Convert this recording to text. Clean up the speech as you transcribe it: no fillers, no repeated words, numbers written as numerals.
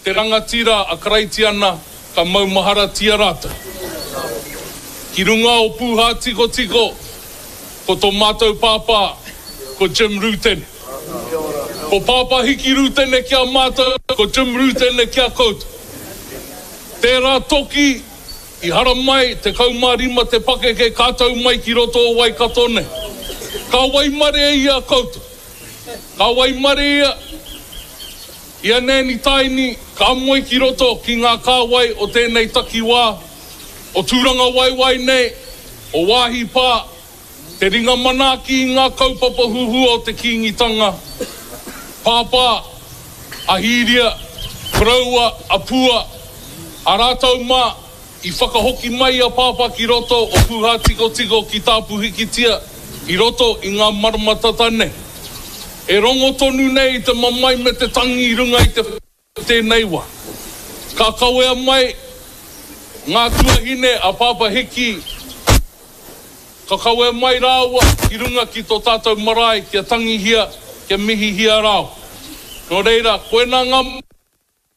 Te rangatira a Karaitiana ka maumaharatia rātou. Ki runga o Pūhātikotiko, ko tō mātou pāpā, ko Jim Rutene. Ko Pāpā Hiki Rutene ki a mātou, ko Jim Rutene ki a koutou. Tērā toki i haramai, 15 te pakeke ka tau mai ki roto o Waikato nei. Ka waimarie ia koutou. Ka waimarie ia. I a Nanny Taini, ka moe ki roto ki ngā kāwai o tēnei takiwā, o Tūrangawaewae nei, o Waahi Pā, te ringa manaaki i ngā kaupapa huhua o te Kīngitanga, Pāpā, a Hīria, koroua, a Pua, a rātou mā, I whakahoki mai a Pāpā ki roto o Pūhātikotiko ki Tāpuhikitia i roto i ngā marama tata nei. E rongo tonu nei i te mamae me te tangi i runga i te tēnei wā. Ka kawea mai ngā tuahine a Pāpā Hiki, ka kawea mai rāua ki runga ki tō tātou marae kia tangihia, kia mihihia rāua. Nō reira, koinā ngā.